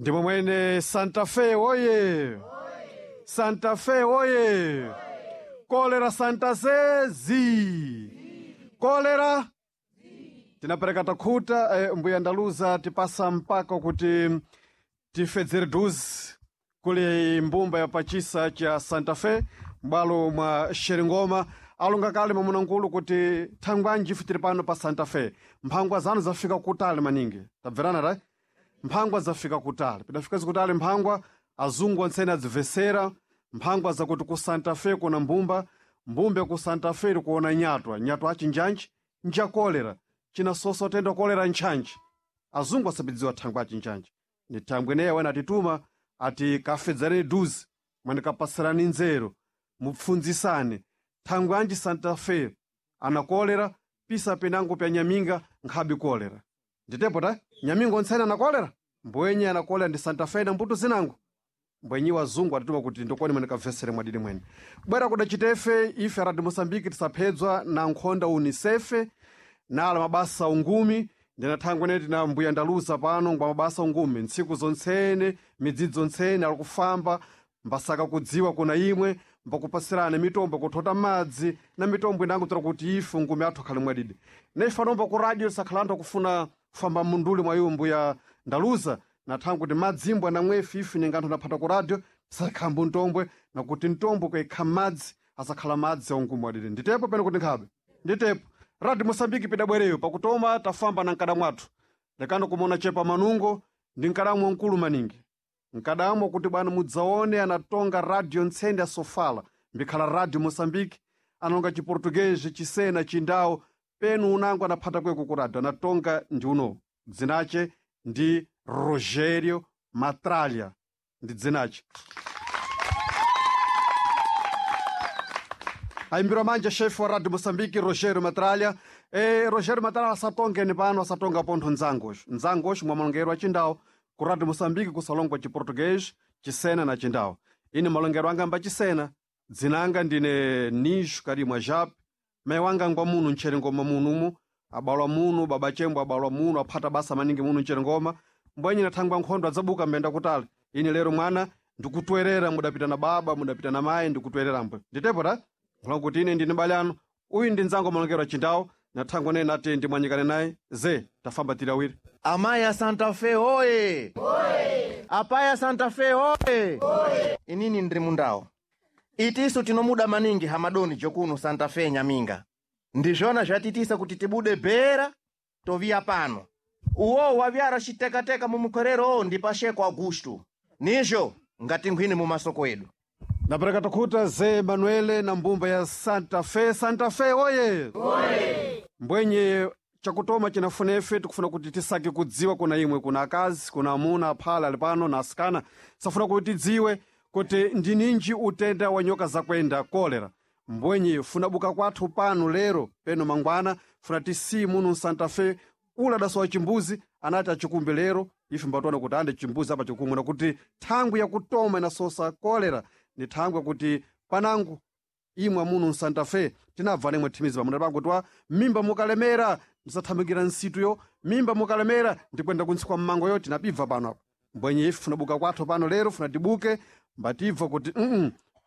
Ndimo mwene Santa Fe oye! Santa Fe oye! Kolera Santa Fe zi! Kolera tinapereka takhuta mbuya ndaluza tipasa mpaka kuti tifedzere duzi kuli mbumba ya pachisa cha Santa Fe m'bwalo mwa Xeringoma alonga kale mwamuna kuti thangwanji ife tili pano pa Santa Fe mphangwa zanu zafika kutali maningi tabverana ra mphangwa zafika kutali pidafika zikutali mphangwa azungu ontsene adzimvesera mphangwa zakuti ku Santa Fe kuna mbumba mbumba ku Santa Fe ili kuona nyatwa nyatwa achinjanji nja kolera chinasosa utenda kolera ntchantchi azungu asabidziwa thangwe achinjanji ni thangwe ineyi wena atituma ati kafedzereni duzi mwanikapasirani nzeru mupfundzisane thangwe anji Santa Fe ana kolera pisa pinango pya nyaminga nkhabi kolera nditepo ta nyaminga ontsene ana kolera mbwenye ana kolera ndi Santa Fe na mbuto zinango mbwenyi wazungu atituma kuti ndokoni mwenikavesere mwadidi mwene bwera kudacitefe ife radio Moçambique tisaphedzwa na nkhonda unisefe nala mabasa ungumi ndina thangwe neti na mbuya ndaluza pano ngwa mabasa ungumi ntsiku zontsene midzidzi zontsene ali kufamba mbasaka kudziwa kuna imwe mbakupasirana mitombo kuthota madzi na mitombo inango tira kuti ife ungumi athu akhale mwadidi naife anomba ku radio tisakhala anthu akufuna kufamba munduli mwa iwo mbuya ndaluza na thangwe kuti madzimbo anamwefe ife ninga anthu anaphata ku radio tisakhambo mtombwe nakuti mtombo kaikha madzi asakhala madzi aungumi wadidi nditepo pene kuti nkhabe nditepo radio Moçambique pidabwereyo pakutoma tafamba na nkada mwathu lekano kumona chepa manungo ndi nkadamwe mkulu maningi nkadamwe kuti bwana mudzaone anatonga radio ntsende ya sofala mbikhala radio Moçambique analonga chiportuguês chisena chindau penu unango anaphata kweko ku radio anatonga ndi uno dzinache ndi Rogério Matralha ndi dzinache ayimbirwa manja chefe wa radio Moçambique Rogério Matralha Rogério Matralha asatongeni pano asatonga pontho ndzangoxo ndzangoxo mwa malongero a chindau ku radio Moçambique kusalongwa chiportuguês chisena na chindau ine malongero anga mba chisena dzinanga ndine Nijo Karimwa Jap mai wanga ngwa munu ntcherengoma munumu abalwa munu baba chembo abalwa munu aphata basa maningi munu ntcherengoma mbwenye nathangwa nkhondo adzabuka mbenda kutali ine lero mwana ndikutwerera mudapita na baba mudapita na mayi ndikutwerera mbwe nditepo ta kuti ine ndine bale anu uyu ndi nzango malongero achindawo nathangwa naye nati ndimwanyikane naye ze tafamba tili awiri Amayi a Santa Fe oye! Apai a Santa Fe oye! Inini ndiri mundawo itisu tinomuda maningi hamadoni jokuno Santa Fe nyaminga ndizvona zvatitisa kuti tibude bhera toviya pano uwo wavyara chitekateka mumukwerero ndi Pacheco Augusto nizvo ngatinkhwini mumasoko edu napereka takhuta ze Manuele na mbumba ya Santa Fe Santa Fe oye, oye! Mbwenye chakutoma chinafuna ife tikufuna kuti tisake kudziwa kuna imwe kuna akazi kuna amuna aphala ali pano na asikana safuna kuti tidziwe kuti ndininji utenda wa nyoka zakwenda kolera mbwenye funa buka kwathu pano lero peno mangwana funa tisiyi muno Santa Fe ula adasowa chimbuzi anati achikumbe lero ife mbationa kuti ande chimbuzi apa chikumwe nakuti thangwi yakutoma inasosa kolera ni thangwi yakuti panango imwe muno msanta Fe tinabva nemwe thimizi pamuna pangu twa mimba mukalemera ndisathamangira nsituyo mimba mukalemera ndikwenda kuntsi kwa mmangoyo tinabibva pano apa mbwenye ife funabuka kwathu pano lero funa tibuke mbatibva kuti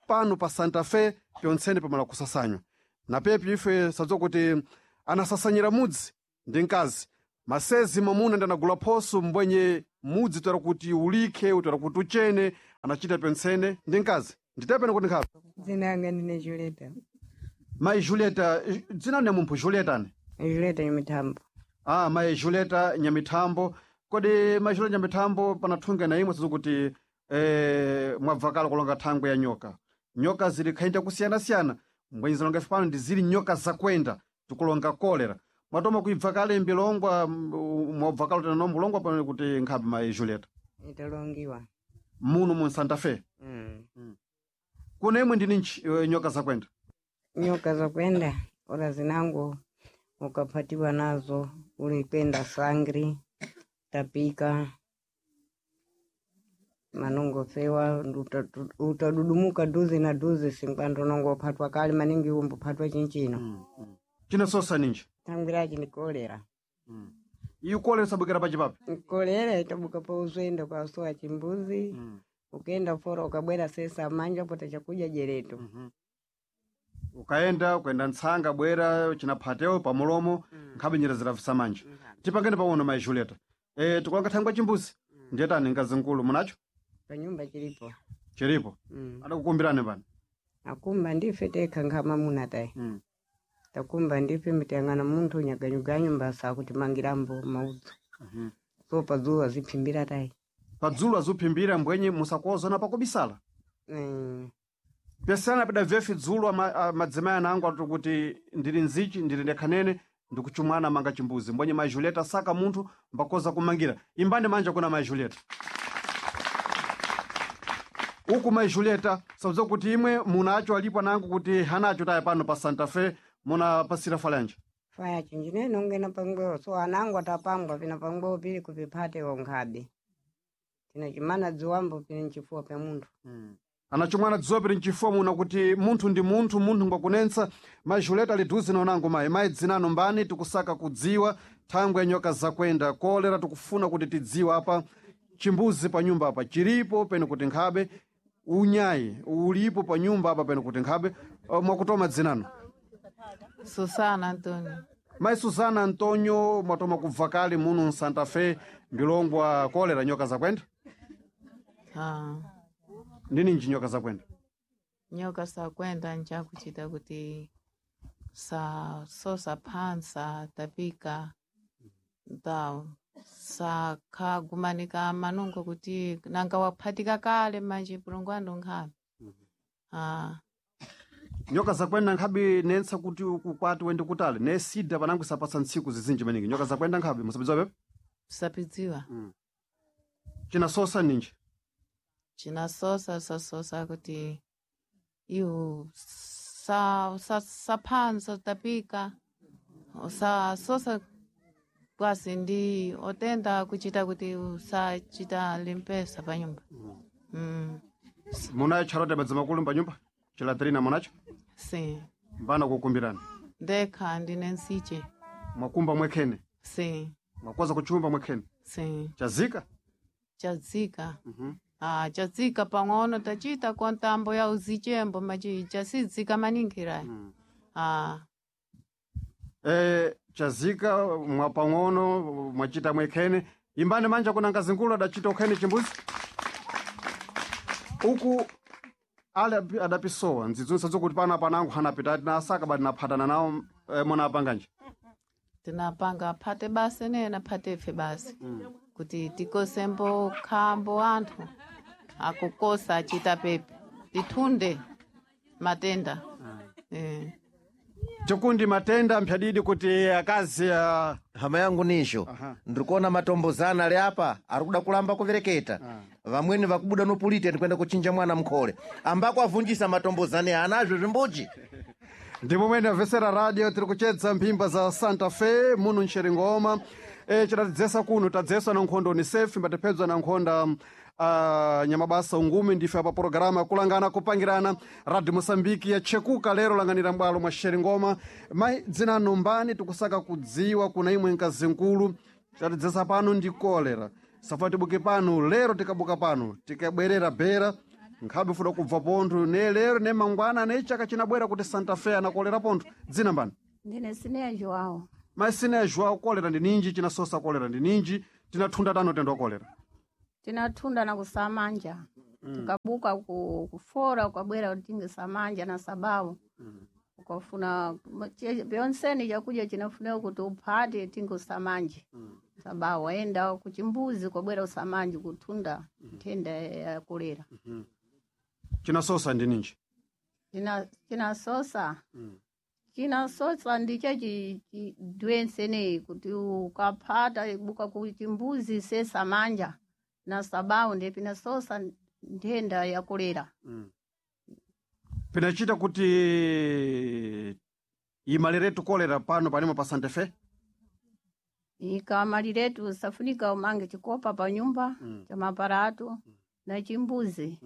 pano pa Santa Fe pyontsene pamala kusasanywa na pepi ife sadziwa kuti anasasanyira mudzi ndi mkazi masezi mwamuna ndi anagula phoso mbwenye mudzi toera kuti ulikhe utoera kuti uchene anachita pyontsene ndi mkazi nditepene kuti nkhabe Dzina ndine Julieta. mayi Julieta dzina ni mumphu Julieta ni Julieta Nyamithambo. ah mayi Julieta Nyamithambo kodi mayi Julieta Nyamithambo panathunga na imwe sizokuti mwabvakala kulonga thangwe ya nyoka nyoka zili khainja kusiyana-siyana mbwenye zilonga ife pano ndi zili nyoka zakwenda tikulonga kolera mwatoma kuibva kale mbilongwa mwabvakala tena nombulongwa pano kuti nkhabe mayi Julieta Italongiwa. muno mu Santa Fe Kuna imwe ndini nyoka zakwenda Nyoka zakwenda ora zinango ukapatiwa nazo ulikwenda sangri tapika manongo fewa utadudumuka duzi na duzi sinkwando nongo upatwa kali maningi umbupatwa chinchino chinasosa ninji tangwirachi ni kolera. Iyo kolera isabukira pachipapi. Kolera itabuka pa uzwenda ukasowa chimbuzi, ukenda fora ukabwera sesa manja pota chakuja jereto. Ukaenda ukaenda ntsanga bwera chinaphatewo pamulomo nkhabe njira zirafisa manja. Tipangene pang'ono mayi Julieta. Tikulanga thangwa chimbuzi. Ndiyetani ngazi nkulu munacho? Panyumba chilipo. Chilipo. Adakukumbirani pano. Akumba ndife tekha nkhama muna tayi. Takumba ndife mitiyang'ana munthu nyaganyuganyu mbasa kutimangirambo maudzu. So padzuwa ziphimbira tayi. Padzulo azuphimbira mbwenye musakuozana pakubisala. Pesana pida vefi dzulo madzimai anangu ati kuti ndili nzichi ndili ndekhanene ndikuchumwana manga chimbuzi mbwenye mayi Julieta saka munthu mbakoza kumangira. Imbani manja kuna mayi Julieta. Uku mayi Julieta sabza kuti imwe munacho alipo anangu kuti hanacho tayi pano pa Santa Fe munapasira falanje. Faya chinjine nongena pangwewo so anangu atapangwa pina pangwewo pili kupiphate wonkhabe. Tinachimana dzuwambo pili nchifuwa pya munthu. Anachomwana dzuwa pili mchifuwa muno kuti munthu ndi munthu, munthu ngwakunensa. Mayi Julieta ali dhuzi naonango mayi. Mayi dzinano mbani tikusaka kudziwa thangwe ya nyoka zakwenda kolera tikufuna kuti tidziwe apa chimbuzi pa nyumba apa chilipo pene kuti nkhabe unyayi ulipo pa nyumba apa pene kuti nkhabe. Mwakutoma dzinano. Susana Antonio. Mayi Susana Antonio mwatoma kubva kale muno Santa Fe ndilongwa kolera nyoka zakwenda. Ah. Ndininji nyoka zakwenda? Nyoka sakwenda nchakuchita kuti sa sosa phansa tapika ta sakhagumanika manungo kuti nanga waphatika kale manje pulungwando nkhabe. Ah. Nyoka zakwenda nkhabe nensa kuti uku kwati wende kutali ne sida panangu isapatsa ntsiku zizinji maningi. Nyoka zakwenda nkhabe musapidziwa pepe? Sapidziwa. Chinasosa ninji? Chinasosa sasosa kuti iwo sa sa saphansa tapika sasosa kwasi ndi otenda kuchita kuti usachita limpesa pa nyumba. Munayo tcharote madzi makulu pa nyumba? Chilatrina munacho? Si. Mbana kukumbirani. Ndekha ndine nsiche. Mwakumba mwekhene. Si. Mwakoza kuchumba mwekhene. Si. Chazika? Chazika. Ah, chazika pang'ono tachita kwa ntambo ya uzichembo machi chasidzika maningira. Ah. Chazika mwapang'ono mwachita mwekhene. Imbani manja kuna ngazinkulu adachita ukhene chimbuzi. Uku ale adapisowa ndzidzunsa zokuti pana panangu hanapita tinasaka bati naphatana nawo munapanganje. Tinapanga phate basi nena phate ife basi. Kuti tikosembo khambo anthu akukosa achita pepe tithunde matenda. Chikundi matenda mphyadidi kuti akazi Hama yangu nisho ndikuona matombozana ali apa ari kuda kulamba kuvereketa. Vamweni vakubuda nopulite ndikwenda kuchinja mwana mkhole ambako avunjisa matombozane anazvo zvimbuji. Ndipo mwene amvesera radio tiri kuchedza mphimba za Santa Fe muno mxeringoma. Chitatidzesa kuno tadzeswa na nkhondo UNICEF mbatipedzwa na nkhonda nyamabasa ungumi ndife apa programa yakulangana kupangirana Radio Mosambiki yachekuka lero langanira mbwalo mwa xeringoma. Mayi dzinano mbani tikusaka kudziwa kuna imwe nkazi nkulu chitatidzesa pano ndi kolera. Safa tibuke pano lero tikabuka pano tikabwerera bera nkhabe fuda kubva pontho ne lero ne mangwana ne chaka chinabwera kuti Santa Fe anakolera pontho. Dzina mbani? Ndine Sineya Joao. Mayi Sineya Joao, kolera ndi ninji chinasosa kolera ndi ninji tinathunda tano tendo kolera. Tinathunda na kusamanja. Tukabuka kufora ukabwera utinge samanja na sababu. Ukafuna pyonseni chakuja chinafunika kuti uphate tinge usamanje. Sababu waenda kuchimbuzi ukabwera usamanje kuthunda nthenda ya kolera. Chinasosa ndi ninji? Chinasosa. Chinasosa ndicho chidwenseneyi kuti ukaphata buka kuchimbuzi sesamanja na sababu ndiye pinasosa nthenda ya kolera. Pinachita kuti imaliretu kolera pano panimo pa Santa Fe? Ikamaliretu safunika umange chikopa pa nyumba cha maparato na chimbuzi.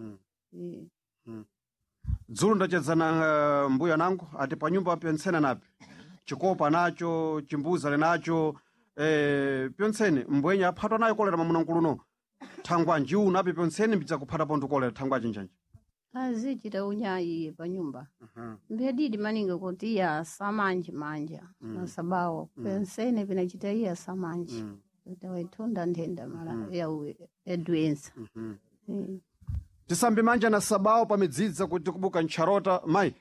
Dzulo ndachedzana mbuya nangu ati pa nyumba pentsena napi chikopa nacho chimbuzi ali nacho. Pyontsene mbwenya aphatwa nayo kolera mwamuna nkuluno thangwa njiuna api pyontsene mbidzakuphata pontho kolera thangwa achinjanji. Azichita unyayi panyumba. Mbedidi maningi kuti iya samanje manja na sabawo pensene pinachita iya samanje kuti waitunda nthenda mala ya edwensa. Tisambe manja na sabao pamidzidza kuti kubuka ntcharota mayi.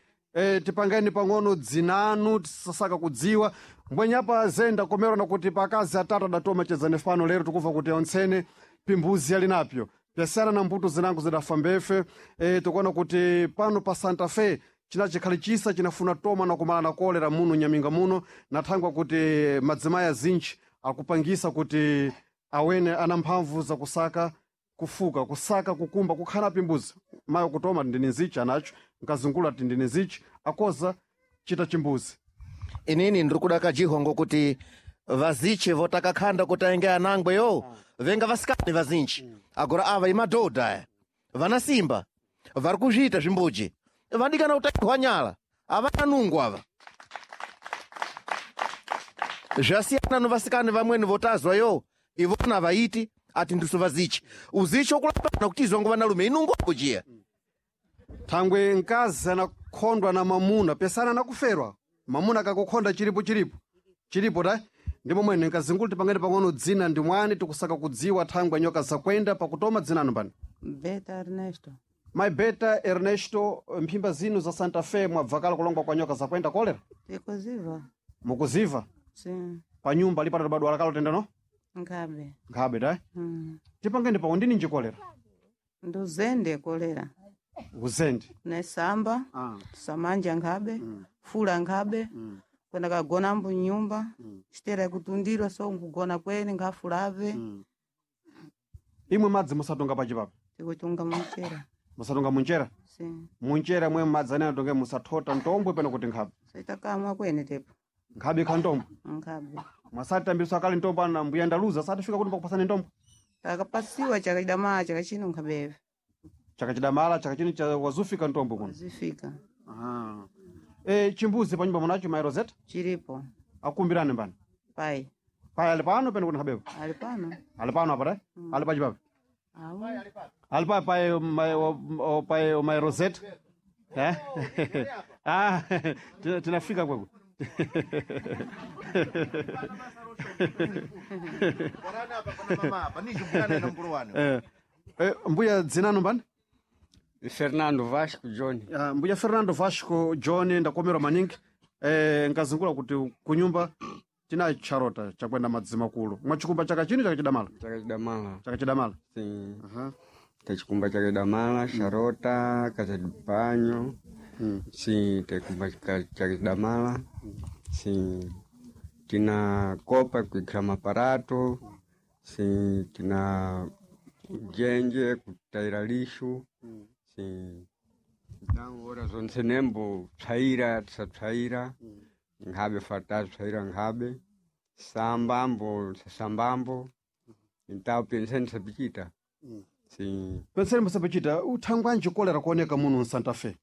Tipangeni pang'ono dzinanu tisasaka kudziwa mbwenyapa zenda komerana kuti pakazi atatu adatoma chedzane fano lero tikuva kuti ontsene pimbuzi ali napyo pyasiyana na mbuto zinango zidafa mbefe. Tikuona kuti pano pa Santa Fe chinachikhali chisa chinafuna toma na kumala na kolera muno nyaminga muno nathangwa kuti madzimai azinji akupangisa kuti awene ana mphamvu zakusaka kufuka kusaka kukumba kukhala pimbuzi mayo kutoma ndine nzichi anacho nkazungula ti ndine nzichi akoza chita chimbuzi. Inini ndiri kuda kajihongo kuti vaziche votakakhanda kuti aenge anangwe yo venga vasikani vazinji agora ava imadhodha aya vana simba vari kuzviita zvimbuji vadikana kutaihwa nyala avana nungu ava zvasiyana no vasikani vamweni votazwa yo ivona vaiti ati ndisu vazichi uzichi okulapana kuti izongo vanalume inungu apo jiya. Thangwe mkazi anakhondwa na mamuna pesana anakuferwa mamuna akakukhonda chilipo chilipo chilipo ta ndi momwene nkazingulu tipangeni pang'ono dzina ndi mwani tikusaka kudziwa thangwe nyoka zakwenda pakutoma dzinanu pano. Beta Ernesto. Mai Beta Ernesto, mphimba zinu za Santa Fe mwabvakala kulongwa kwa nyoka zakwenda kolera? Tikuziva. Mukuziva? Si. Pa nyumba lipata badwala kalo tendano? Nkhabe. Nkhabe ta. Tipangeni pang'ono ndini nji kolera? Nduzende kolera. Uzende. Nesamba. Samanja nkhabe. Fula nkhabe. Kwenda kagona mbu nyumba. Chitera kutundira so nkugona kwene nkhafulave. Imwe madzi musatunga pachipapa? Tikutunga munchera. Musatunga munchera? Si. Munchera mwe madzi anene atonge musathota ntombwe pano kuti nkhabe. Sitakamwa kwene tepo. Nkhabe ikha ntombwe. Nkhabe. Mwasatambiswa kale ntombwe ana mbuya ndaluza satifika kuti pakupasani ntombwe. Takapasiwa chakachidamala chakachino nkhabeve. Chakachidamala chakachino cha wazufika ntombwe kuno. Zifika. Chimbuzi panyumba munacho mai Rosetta? Chilipo. Akumbirani mbani? Pai. Pai ali pano pene kuti nkhabepo? Ali pano. Ali pano apa ta? Ali pachipapo? Awu. Ali pa pai mai pai mai Rosetta? Eh? Ah, tinafika kweko. Mbuya dzinanu mbani? Fernando Vasco John. Mbuya Fernando Vasco John ndakomerwa maningi. Nkazungula kuti kunyumba tina charota chakwenda madzima kulu. Mwachikumba chaka chino chakachidamala? Chakachidamala. Chakachidamala. Sim. Tachikumba chakachidamala, charota, kachadipanyo. Sim, tachikumba chakachidamala. Sim. Tina kopa kuikira maparato. Sim, tina jenje kutaira lixo. Sim. Então, ora zonse nembo psaira, tisapsaira. Nkhabe fata psaira nkhabe. Sambambo, sambambo. Então, pensei nisapichita. Sim. Penseni musapachita uthangwanji kolera kuoneka muno mSanta Fe.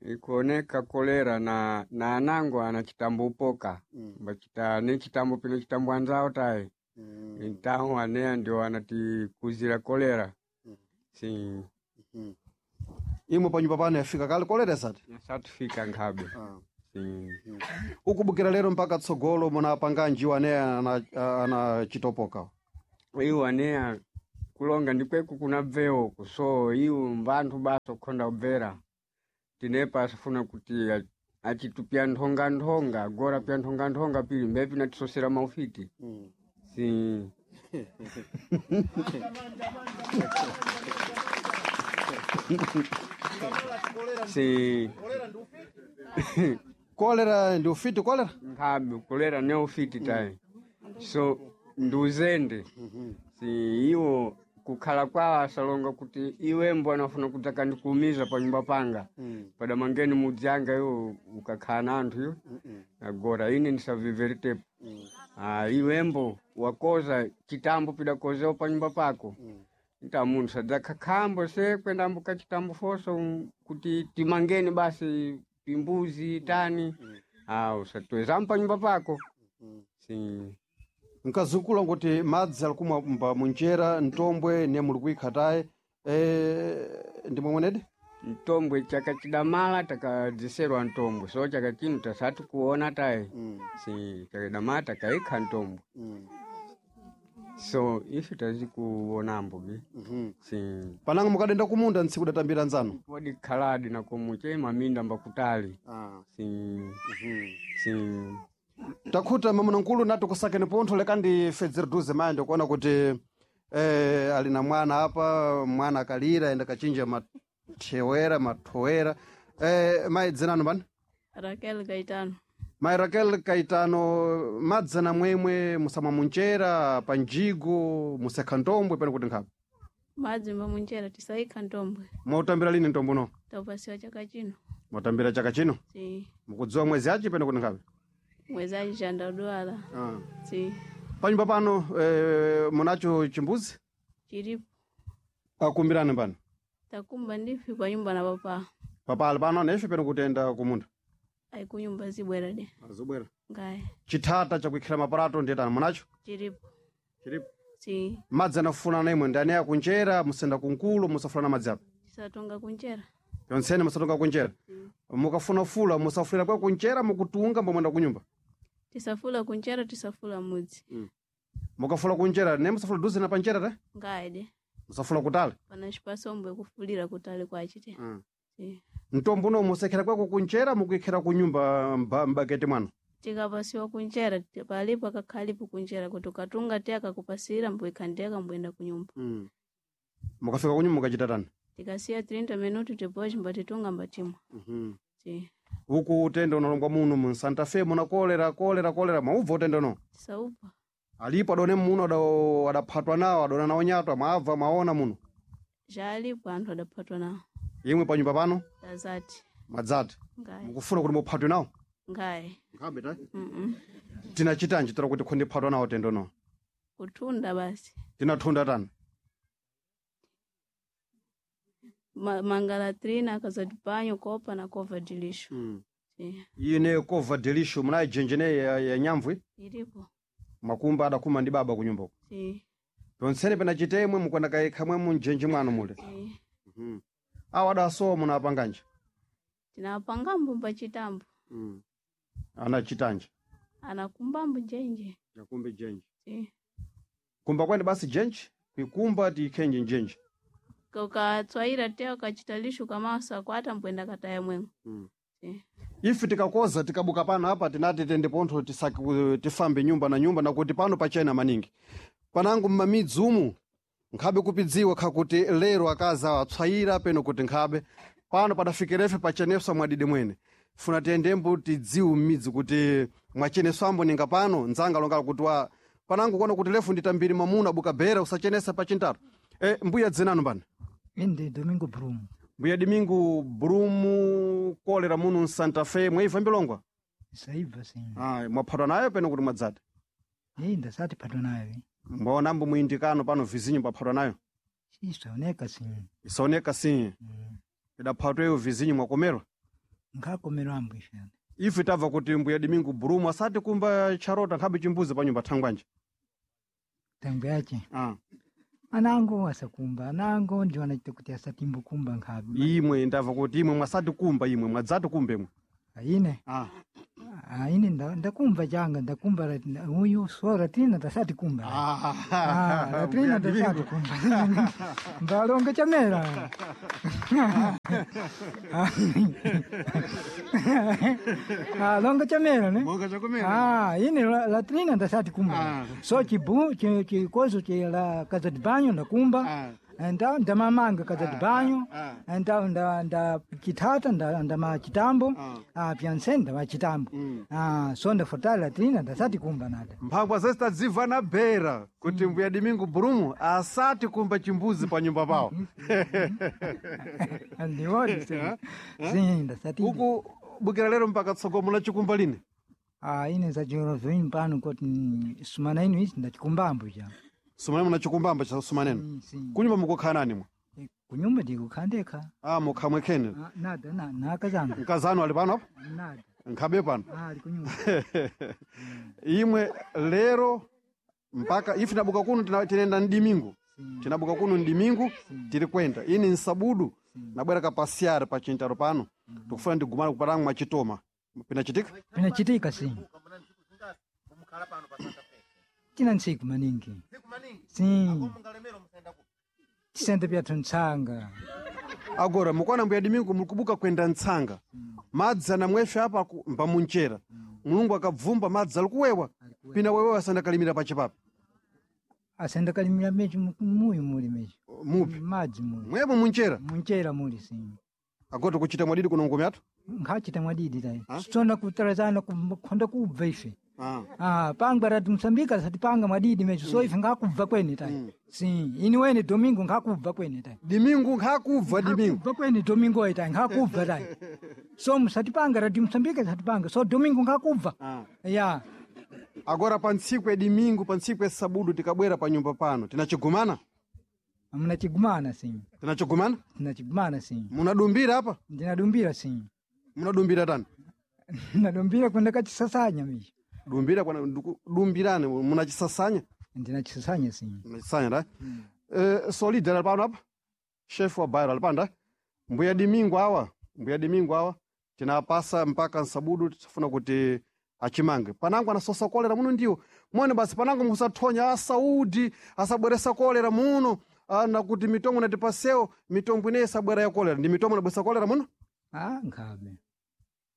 Ikuoneka kolera na anango ana chitambo upoka. Bachita ne chitambo pino chitambo anzao tayi. Então anea ndio anatikuzira kolera. Sim. Imwe panyumba pano yafika kale kolera sati. Satifika nkhabe. Sim. Ukubukira lero mpaka tsogolo munapanganji aneya ana chitopoka. Iwo anea kulonga ndikweku kuna bveo so iwo mbanthu basa kukhonda kubvera. Tinepa asifuna kuti achitupya nthonga nthonga agora pya nthonga nthonga pili mbepi natisosera maufiti. Sim. Sim. Kolera ndi ufiti kolera? Nkhabe kolera ne ufiti tayi. So ndi uzende. Si iwo kukhala kwawo asalonga kuti iwembo anafuna kudzaka ndikuumiza pa nyumba panga. Padamangeni mudzi anga iwo ukakhala na anthu iwo. Agora ine ndisaviveritepo. Ah, iwembo wakoza chitambo pidakozewa pa nyumba pako. Nta munthu sadzakakhambo se kwendambo kachitambo foso kuti timangeni basi pimbuzi tani. Ah, usatwezampo pa nyumba pako. Si. Nkazukula kuti madzi ali kumwa mba munjera ntombwe ne muli kuikhataye ndimwe mwenedi? Mtombwe chaka chidamala takadziserwa ntombwe, so chaka chino tasati kuona tayi. Si chakadamala takaikha ntombwe. So ife tazikuonambo bi. Si Panango mukadenda kumunda ntsiku datambira nzanu. wadikhaladi na komuche maminda mbakutali. Si si Takhuta mamuna nkulu nati kusakeni pontho lekandi fedzere duze mayi ndikuona kuti ali na mwana apa, mwana akalira enda kachinja mathewera mathowera. Mayi dzinanu bani? Raquel Gaetano. Mayi Raquel Kaitano, madzana mwemwe musamwa munjera panjigo musekha ntombwe pene kuti nkhapo Madzi mbamunjera tisaikha ntombwe. mwautambira lini ntombo no? Taupasiwa chaka chino. Mwatambira chaka chino? Si Mukudziwa mwezi achi pene kuti nkhapo? mwezi achi ndadwala. Si Panyumba pano munacho chimbuzi? chilipo. Akumbirani pano Takumba ndife pa nyumba na papa. papali pano nesho pene kutenda kumunda Ayi kunyumba zibwera de. azobwera Ngaye chithata chakuikhira maparato ndiyetani munacho? chilipo. Chilipo. Si Madzi anafuna imwe ndani akunjera musenda kunkulu musafuna madzi apa tisatonga kunjera. yonsene musatonga kunjera. Mukafuna fula musafulira kwa kunjera mukutunga mbomwenda kunyumba. Tisafula kunjera tisafula mudzi. Mukafula kunjera ne musafula duze na panjera te Ngaye de. musafula kutali. Pana chipasombwe kufulira kutali kwachite. Si Mtombo uno musekhera kwako kunjera mukuikhira kunyumba mbakete mwanu. tikapasiwa kunjera palipo akakhalipo kunjera kuti ukatunga te akakupasira mbuikha ndeka mbuyenda kunyumba. Mukafika kunyumba mukachita tani? Tikasiya 30 minuti tipochi mbatitunga mbatimwa. Si Uku utende unalongwa muno mu Santa Fe muna kolera kolera kolera maubva utende uno. tisaupa. Alipo adone muno adaphatwa nawo adona nawo nyatwa mwabva mwaona muno. Zvalipo anthu adaphatwa nawo. Imwe panyumba pano Tazati. mwadzati Ngaye. mukufuna kuti muphatwe nawo. Ngaye. Nkhabe ta. Mm Tinachitanji tira kuti khondi phatwa nawo tendo no. Kutunda basi. Tinathunda tani? Mangalatrina akazati panyo kopa na kova dilisho. Si. Ine kova delisho munayi jenjene ya nyamvwe Ilipo. makumba adakuma ndi baba kunyumba uko. Si. Ponsene pena chitemwe mukwenda kaikha mwe munjenje mwanu mule. Si. Awo adasowa munapanganje. Tinapangambo mbachitambo. Anachitanje. Anakumbambo njenje. Yakumbe jenje. Si. Kumba kwene basi jenje, kuikumba tikhenje njenje. Ukatswaira te ukachita lisho kamaso akwata mbwenda kataya mwengo. Si. Ife tikakoza tikabuka pano apa tinati tende pontho tisaki tifambe nyumba na nyumba nakuti pano pachena maningi. Panango mmamidzi umu nkhabe kupidziwa khakuti lero akazi awo atswayira peno kuti nkhabe pano padafikirefe pacheneswa mwadidi mwene. Funa tiyendembo tidziwe mmidzi kuti mwacheneswambo ninga pano nzanga longala kuti wa panango kuona kuti lefu nditambiri mwamuna abuka bera usachenesa pachintatu. Mbuya dzinanu pano? Inde Domingo Brumo. Mbuya Domingo Brumo kolera muno msanta Fe mwaibva mbilongwa? Saibva sim. Ah, mwaphatwa nayo peno kuti mwadzati. Ei ndasati phatwa nayo. Mwaonambo muindikano pano vizinyo mwaphatwa nayo. Isaoneka sim. Isaoneka sim. Idaphatwa iyo vizinyo mwakomerwa. Nkhakomerwa ambo ifene. Ife tabva kuti mbuya Domingo Brumo asati kumba charota nkhabe chimbuzi pa nyumba thangwanje. Tangu yache. Ah. Anango asakumba, anango ndio anachita kuti asatimbukumba nkhabe. Imwe ndabva kuti imwe mwasati kumba imwe mwadzati kumba imwe. Aine. Ah. Aine ndakumva changa ndakumba uyu so latrina ndasati kumba. Ah, latrina ndasati kumba. Mbalonga chamera. Ah, longa chamera ne? Longa chakumera. Ah, ine latrina ndasati kumba. So chibu chikozo chi la casa de banho ndakumba. Nda ndamamanga casa de banho. Nda nda nda chitata nda ndamachitambo. Ah, pyanse ndamachitambo. Ah, so ndafuta latrina ndasati kumba nada. Mphangwa zese tadzibva na bera kuti mbuya Domingo Brumo asati kumba chimbuzi pa nyumba pawo. Ndiwodi sim. Ndasati. Uku bukira lero mpaka tsogolo munachikumba lini? Ah, ine zachiro vini pano kuti sumana inu izi ndachikumbambo cha. Sumana munachikumbamba cha sumaneno. Kunyumba mukukhala nani mwa? Kunyumba ndikukhala ndekha. Ah, mukhala mwekhene. Ah, nada na nakazanga. Mkazanu ali pano apa? Nada. Nkhabe pano. Ah, ali kunyumba. Imwe lero Mpaka ife tinabuka kuno tinaenda ndimingu. Tinabuka kuno ndimingu tiri kwenda. Ini nsabudu nabwera kapasiara pa chintaro pano. Tikufuna ndigumana kuparangu mwachitoma. Pinachitika? Pinachitika si. Tina ntsiku maningi. Si. Tisende pyathu ntsanga. Agora mukwana mbuya dimingu mulikubuka kwenda ntsanga. Madzi anamwesha apa mbamunchera. Mulungu akabvumba madzi alikuwewa. Pina wewe asandakalimira pachipapo. Asendakalimira mechi muyu muli mechi. Mupi. Madzi muli. Mwemo munchera. Munchera muli si. Agora kuchita mwadidi kuno ngome athu. Nkhachita mwadidi tayi. Sitona kutalazana kukhonda kubva ife. Ah. Ah, pangwa rati Mosambika satipanga mwadidi mechi so ife ngakubva kwene tayi. Si, ini wene Domingo ngakubva kwene tayi. Dimingu nkhakubva dimingu. Kubva kwene Domingo itayi ngakubva tayi. So musatipanga rati Mosambika satipanga. So Domingo ngakubva. Ya. Agora pa ntsiku ya dimingu pa ntsiku ya sabudu tikabwera pa nyumba pano tinachigumana. Munachigumana si. Tinachigumana? Tinachigumana si. Munadumbira apa? Ndinadumbira si. Munadumbira tani? Nadumbira kwenda kachisasanya michi. Dumbira kwana dumbirane munachisasanya. Ndinachisasanya si. Munachisasanya ta? Solid ali pano apa? Chef wa bairo ali pano ta? Mbuya dimingu awa, mbuya dimingu awa tinapasa mpaka nsabudu tifuna kuti achimange. Panango anasosa kolera muno ndiwo. Mwene basi panango musathonya asaudi asabweresa kolera muno. Na kuti mitombo natipasewo mitombo ineyi isabwera ya kolera. Ndi mitombo inabweresa kolera muno? Ah, nkhabe.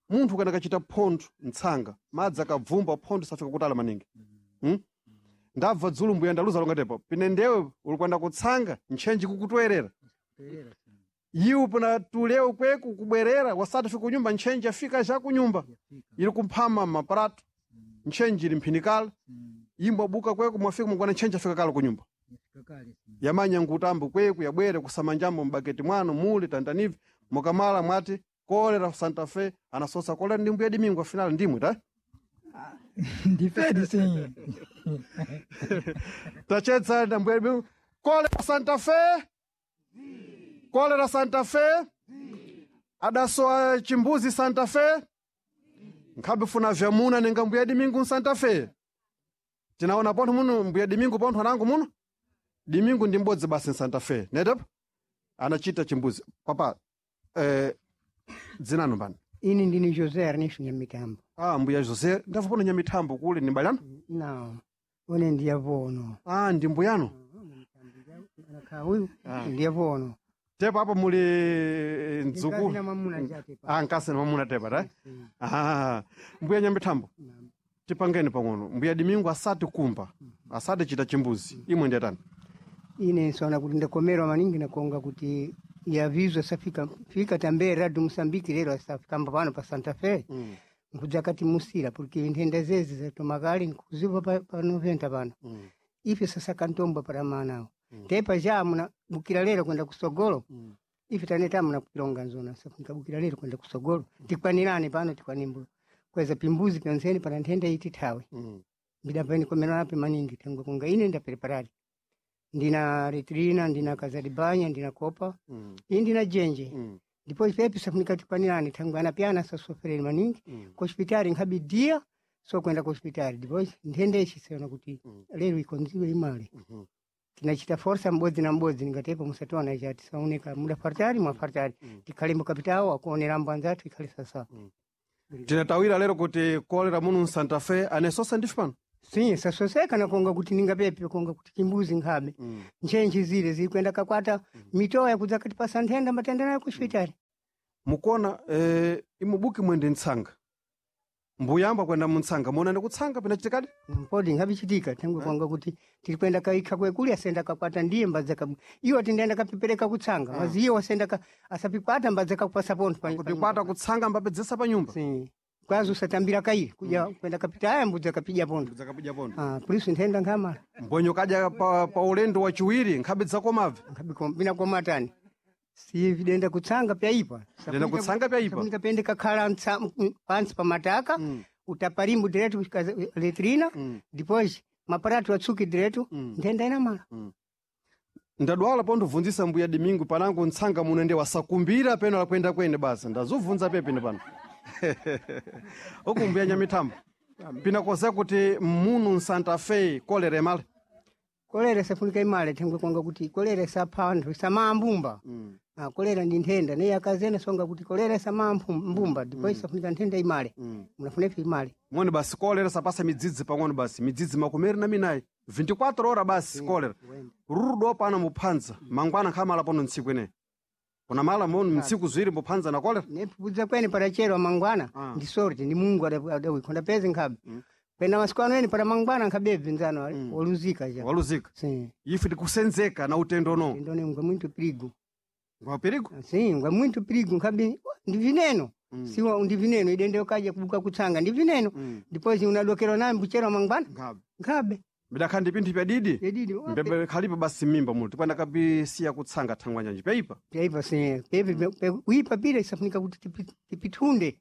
Munthu kana kachita phontho ntsanga madzi akabvumba phontho safika kutala maningi. Ndabva dzulu mbuya ndaluza longatepo pine ndewe uli kwenda kutsanga ntchenji kukutwerera iwe pona tulewo kweku kubwerera wasati fika kunyumba ntchenji afika ja kunyumba ili kumphama maparato ntchenji ili mphinikala imbwa buka kweku mwafika mukwana ntchenji afika kale kunyumba yamanya ngutambo kweku yabwere kusamanjambo mbaketi mwano muli tantanivi mukamala mwati kolera Santa Fe anasosa kolera ndi mbuya dimingu afinali ndimwe ta Ndifedi si. tachetsa na mbuya dimingu kolera Santa Fe kolera Santa Fe adasowa chimbuzi Santa Fe nkhabe funa vyamuna ninga mbuya dimingu Santa Fe tinaona pontho muno mbuya dimingu pontho anangu muno dimingu ndi mbodzi basi Santa Fe netepo anachita chimbuzi papa dzinano mbani Ini ndini José Ernesto Nyamitambo. Ah, mbuya José ndabva pano Nyamitambo kule ni balano Não, une ndiye vono. Ah, ndi mbuyano Uyu ndiye vono. tepo apo muli ndzukulu Ndikazina mwamuna chate pa. Ah, nkasi na mwamuna tepa ta ah, mbuya Nyamitambo tipangeni pang'ono mbuya dimingu asati kumba asati chita chimbuzi imwe ndiyatani Ine nsona kuti ndakomerwa maningi nakonga kuti yavizo safika fika tambe radio Mosambiki lero asafika pano pa Santa Fe. Nkudza kati musira porque nthenda zezi zatomakali nkuziva pa 90 pano. Ife sasa kantomba para manawo. Tepa ja muna bukira lero kwenda kusogolo. Ife taneta muna kupilonga nzona safunika bukira lero kwenda kusogolo. Tikwanirane pano tikwanimbo. Kweza pimbuzi pyonseni pana nthenda iti thawe. Ndidapeni komerwa nape maningi tengwe kunga ine ndapreparari. Ndina retrina, ndina kazaribanya, ndina kopa, iyi ndina jenje. Ndipo ifepi safunika tikwanirane thangwe anapyana sasofereni maningi. Ku hospitali nkhabidia so kwenda ku hospitali. Ndipo nthenda ichi siona kuti lero ikonziwe imale. Tinachita forsa m'bodzi na m'bodzi ningatepo musationa chati saoneka muda fartari mwafartari tikhale mukapitawo akuonerambo anzathu ikhale sasa. Tinatawira lero kuti kolera muno Santa Fe anesosa ndife pano Sim, sasoseka nakonga kuti ningapepe konga kuti chimbuzi nkhabe. Ntchentche zile zilikwenda kakwata mitoya kudza katipasa nthenda matenda nayo ku hospitali. Mukuona imubuki mwende ntsanga mbuyamba kwenda muntsanga muonani kutsanga pinachitikadi Mpodi nkhabichitika thangwe konga kuti tilikwenda kaikha kwekuli asenda kakwata ndiye mbadza ka iwo tindaenda kapipereka kutsanga mazi iwo asenda ka asapikwata mbadza kakupasa pontho pa kupikwata kutsanga mbapedzesa pa nyumba. Sim. Kwazi usatambira kaili kuja kwenda kapita aya mbudza kapija pontho. Mbudza kapija pontho. Ah, polisu nthenda nkhamala. Mbonyo kadya pa ulendo wachiwiri nkhabe dzakomabve. Nkhabe binakomatani. Si videnda kutsanga pyaipa. Videnda kutsanga pyaipa. Safunika pende kakhala pansi pa mataka. Utaparimbu direto letrina. Depois maparatu atsuki direto. Nthenda inamala. Ndadwala pondibvunzisa mbuya Dimingu panango ntsanga muno ndi wasakumbira peno lakwenda kwene basa ndazobvunza pepene pano. Uku mbuya Nyamithambo. Pinakoze kuti munu msanta Fe kolera imale. Kolera safunika imale thengwe kwanga kuti kolera sapha anthu samambumba. Ah, kolera ndi nthenda naye akazena songa kuti kolera samambumba ndipo isafunika nthenda imale. Munafuna ife imale. Mwene basi kolera sapasa midzidzi pang'ono basi midzidzi 24 24 ora basi kolera. Rurudo pano muphanza mangwana nkhamala pano ntsiku ine. Kuna mala monu mtsiku ziwiri muphanza na kolera. Nepupudza kwene parachero mangwana ndi sorti ndi Mungu adawikhonda peze nkhabe. Kwena masiku ano ene para mangwana nkhabe bvinzano woluzika ja. Waluzika. Sim. Ife tikusenzeka na utendo no. Ndone ngwa muito perigo. Ngwa perigo? Sim, ngwa muito perigo nkhabe ndi vineno. Siwa ndi vineno idende ukaja kubuka kutsanga ndi vineno. Depois unadokera naye mbuchero mangwana. Nkhabe. Nkhabe. Bidakha ndi pinthu pyadidi. Pyadidi. Mbebe khalipo basi mimba muno tipanda kabisiya kutsanga thangwa nyanji pyaipa. Pyaipa sim. Pepe uipa pile isafunika kuti tipitunde.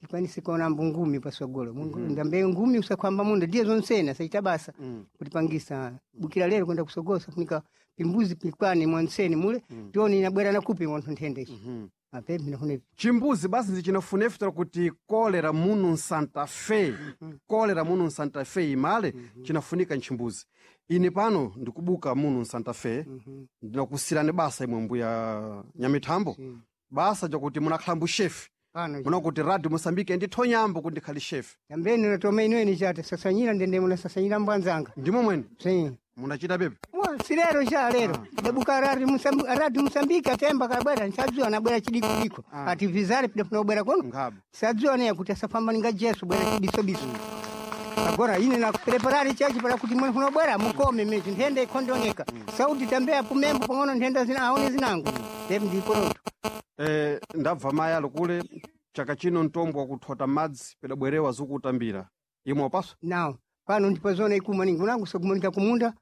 Tikwanise kuona mbungumi pasogolo. Mungu ndambe ngumi usakwamba munda ndiye zonsena saita basa. Kutipangisa bukira lero kwenda kusogolo safunika pimbuzi pikwane mwanseni mule tione inabwera na kupi wanthu nthenda ichi. Apepe ndinafuna Chimbuzi basi ndichinafuna kuti kolera munu msanta Fe. Kolera munu msanta Fe imale chinafunika nchimbuzi. Ine pano ndikubuka munu msanta Fe. Ndinakusirani basa imwe mbuya Nyamithambo. Basa jakuti munakhala mbushefi. Pano. Munakuti Radio Mosambike ndithonyambo kuti ndikhali shefi. Yambeni natoma inweni chate sasanyira ndende munasasanyira mbwanzanga. Ndimo mwene? Sim. Munachita pepe? Mwa silero cha lero. Dabuka radi Mosambike atemba kabwera nsadziwa nabwera chidiko Ati vizare pida funobwera kuno. Ngabe. Sadziwa naye kuti asafamba ninga Jesu bwera chibiso biso. Agora ine na preparare chachi para kuti mwe funobwera mukome mechi nthenda ikhondoneka. Sauti tambea pumembo pang'ono nthenda zina aone zinango. Ndipo ndiporoto. Ndabva mayi ali kule chaka chino mtombo wakuthota madzi pedabwerewa zikutambira. Imwe wapaswa? Nawo pano ndipo zona ikuma ningi unangu sokumonika kumunda.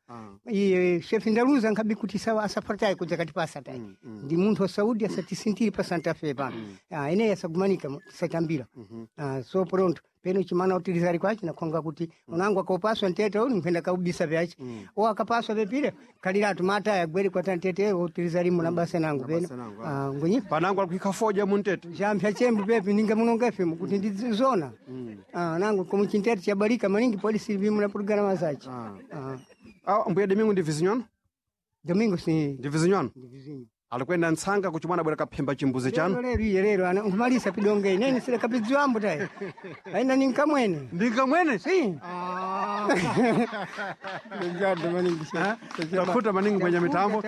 Iye shefi ndaluza nkhabi kuti sawa asapartai kudza katipasa tai. Ndi munthu wa Saudi asatisintiri pa Santa Fe pano. Ah, ineyi asagumanika satambira. Ah, so pronto peno chimana utilizari kwachi nakhonga kuti unangu akopaswa ntete uli nkhwenda kaubisa vyachi. O akapaswa vepile kaliratu mata yagwere kwa tantete utilizari muna basa nangu peno. Ah, ngonyi Panangu alikuikha foja muntete. Jampya chembu pepi ninga munonga fm kuti ndizona. Ah, nangu komu chintete chabalika maningi polisi vimu na programa zachi. Ah. Ah, mbuya Domingo ndi vizinywano? Domingo si. Ndi vizinywano? Ndi vizinyo. Alikwenda ntsanga kuchimwana bwera kaphemba chimbuzi chanu. Lero lero iye lero ana nkumalisa pidonge inene sile kapidziwambo tayi. Aina ninkamwene. Ndinkamwene? Si. Obrigado maningi. Takuta maningi mwenye mitambo.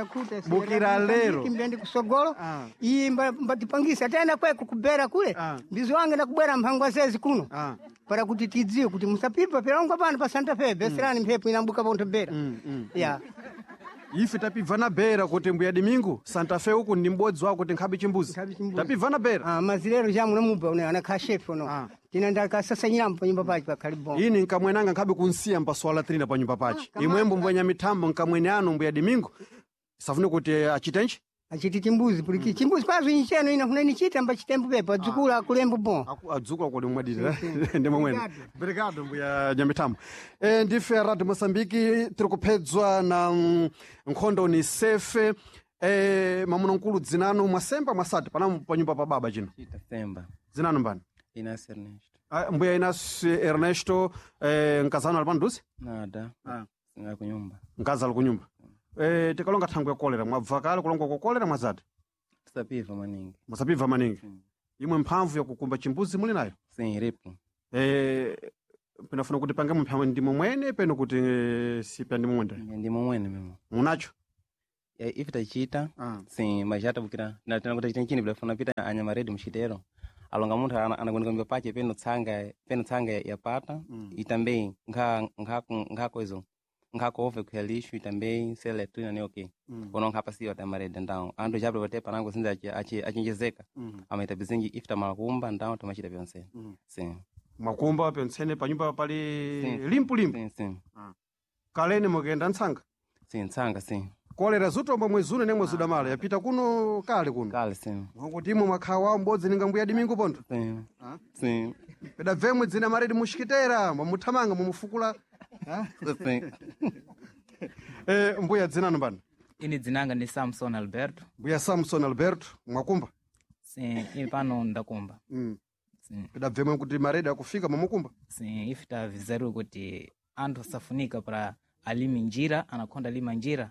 Bukira lero. Kimbendi kusogolo. Iye mbatipangisa tena kweko kubera kule. Mbizi wange nakubwera mphangwa zezi kuno. Para kuti tidziwe kuti musapipa pirangwa pano pa Santa Fe beserani mphepo inambuka pontho bera. Ya. Ife tapibva na bera kuti mbuya Domingo Santa Fe uku ndi m'bodzi wako kuti nkhabe chimbuzi. Tapibva na bera. Ah, mazilero jamu namuba une anakha chef uno. Tina ndakasasanyira pa nyumba pachi pakhali bon. Ini nkamwenanga nkhabe kunsiya mpaswala 3 pa nyumba pachi. Imwembo mbwenya mitambo nkamwene anu mbuya Domingo. Safune kuti achitenji? Achiti chimbuzi puliki chimbuzi kwazo incheno ina kuna nichita mba chitembo pepo adzukula akulembo bon. Adzukula kodi mwadira ndi momwene. Obrigado mbuya Nyamithambo. Ndife Radio Mosambiki tiri kuphedzwa na nkhondo ni sefe. Mamuna mkulu dzinanu mwasemba mwasati panamu pa nyumba pa baba chino. Semba. Dzinanu mbani? Inácio Ernesto. Ah, mbuya Inácio Ernesto nkazano ali pano Nada. Singa kunyumba. Nkazi ali kunyumba. Tikalonga thangwe ya kolera mwabva kale kulonga kwa kolera mwazati? Tisapiva maningi. Musapiva maningi. Imwe mphamvu yakukumba chimbuzi muli nayo? Sim, iripo. Pinafuna kuti pange mphamvu ndimo mwene peno kuti sipya ndimo mwene. Ndimo mwene memo. Munacho? Ya ife tachita. Sim, mas já tabukira. Na tena kuti chini bilafuna pita anyama ready mchitero. Alonga munthu anagoneka mbe pache peno tsanga peno tsanga yapata. Itambei nkha nkha nkha koizo. Nkhako ove kuya lixo itambei sele tuina ne okay. Ono nkha pasiwa tamarede ndawo. Andu japo vote panango sinza achenjezeka. Amaita bizingi ifta malakumba ndawo tamachita pyonse. Sim. Mwakumba pensene pa nyumba pali Sim. limpu limpu. Sim, sim. Kaleni mukenda ntsanga? Sim, ntsanga sim. Kolera zutomba mwezi uno nemwe zudamala yapita kuno kale kuno. Kale sim. Ngokuti imwe mwakhawa m'bodzi ninga mbuya Domingo pontho. Sim. Sim. Pedabvemwe dzina maredi muxikitera mwamuthamanga mwamufukula. Sim. Mbuya dzinanu mbani? Ini dzinanga ndi Samson Alberto. Mbuya Samson Alberto mwakumba? Sim, ini pano ndakumba. Pidabvemwe kuti maredi akufika mwamukumba. Sim, ife tavizeru kuti anthu asafunika para alime njira, anakonda lima njira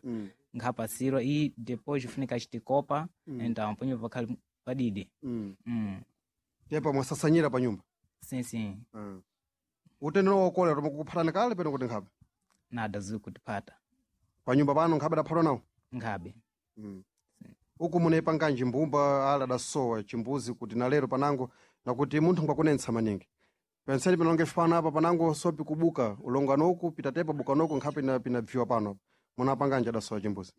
nkhapasirwa e depois funika achitikopa então ponyo pakhali padidi. Tepa mwasasanyira pa nyumba. Sim, sim. Utendero wa kolera mukuphatana kale peno kuti nkhabe. Nada zikutipata. Pa nyumba pano nkhabe adaphatwa nawo. Nkhabe. Uku munepanganji mbumba ala adasowa chimbuzi kuti na lero panango nakuti munthu ngwakunentsa maningi. Penseni pinalonge fano apa panango sopi kubuka ulongano uku pitatepa bukanoku nkhape pinabviwa pano. Munapanganji adasowa chimbuzi.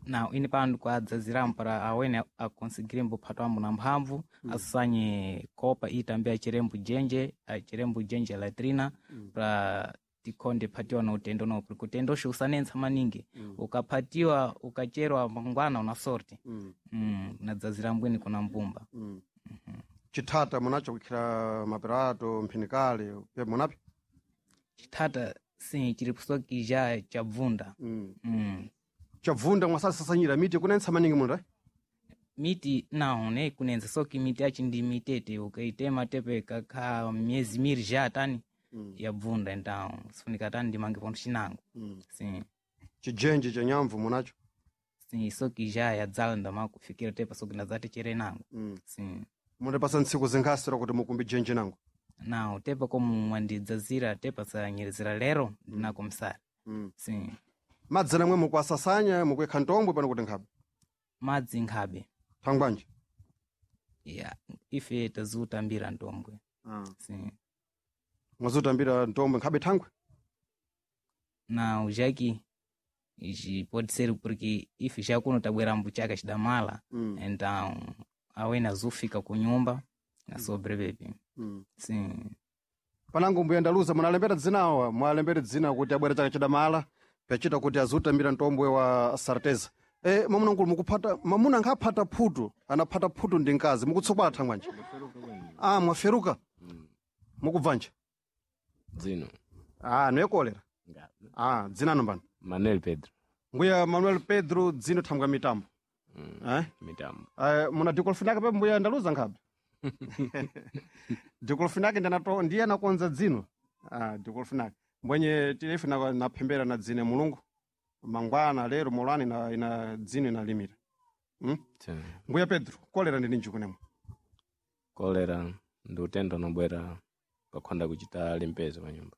Não, ine pano kuadzaziramo para awene akonseguirembo phatwambo na mphamvu asanye kopa e também acherembo jenje, acherembo jenje latrina para tikhonde phatiwa na utendo no porque utendo uxi usanentsa maningi ukaphatiwa ukacherwa mangwana una sorte nadzazirambweni kuna mbumba. Chithata munacho kukhira maperato mphinikale pe munapi? Chithata sim chiri soki já chabvunda. Chabvunda mwasasasanyira miti kunentsa maningi munda? Miti não ne kunenza soki miti yachi ndi mitete ukaitema tepe kakha miyezi miri já tani yabvunda, então sifunika tani ndimange pontho chinango. Sim. Chijenje cha nyamvu munacho? Sim, soki já yadzala ndamakufikira tepa soki ndadzati chere nango. Sim. Mundipasa ntsiku zinkhasira kuti mukumbi jenje nango. Não, tepa como mwandidzazira tepa sanyerezera lero ndinako msara. Sim. Madzi namwe mukuasasanya mukuyekha ntombwe pano kuti nkhabe. Madzi nkhabe. Thangwanji? Ya, ife tazutambira ntombwe. Sim. Mwazutambira ntombwe nkhabe thangwe? Não, já que ichi pode ser porque ife já kuno tabwerambo chaka chidamala então awene azufika kunyumba na sobrevive. Sim. Panango mbuya ndaluza munalembera dzinawa, mwalembera dzina kuti abwera chaka chidamala pachita kuti azutambira ntombwe wa sarteza. E, mwamuna nkulu mukuphata mwamuna nkaphata phutu, anaphata phutu ndi mkazi mukutsokwala thangwanji. Ah, mwaferuka. Mukubvanja. Dzino. Ah, noyekolera. Ah, dzina nombani. Manuel Pedro. Mbuya Manuel Pedro dzino thangwa mitambo. Eh? Mitambo. Muna dikolofinake pe mbuya ndaluza nkhabe. Dikolofinake ndanato ndiye anakonza dzino. Ah, dikolofinake. Mbwenye tilefe na naphembera na dzine mulungu. Mangwana lero molani na ina dzino inalimira. Mbuya Pedro, kolera ndi ninji kunemwe. Kolera ndi utendo unobwera ukakhonda kuchita limpeza pa nyumba.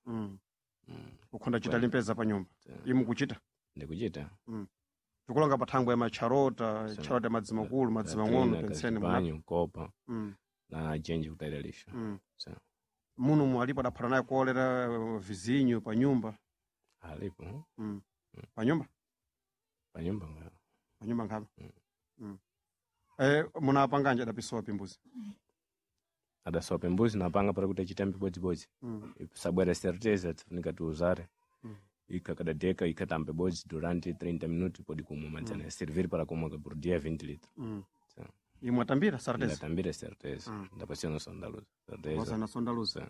Ukhonda kuchita limpeza pa nyumba. Imu kuchita. Ndikuchita. Tikulonga pathangwe ya macharota, charota ya madzi makulu, madzi mang'ono penseni muna. Banyo, kopa na jenje kutayira lisho. So, Muno mu alipo adaphata naye kolera vizinyo pa nyumba. alipo. Pa nyumba? Pa nyumba nga. Pa nyumba nkhabe. Munapanganja adapisowa pimbuzi. Adasowa pimbuzi napanga para kuti achitambe bodzibodzi. Sabwera certeza tifunika tiuzare. Ika kadadeka ikatambe bodzi durante 30 minutos pode kumwa madzana servir para kumwa por dia 20 litros. So, Imwe atambira sarteza. ndatambira certeza. Ndapasiyana sondaluza. Certeza. Wasana sondaluza.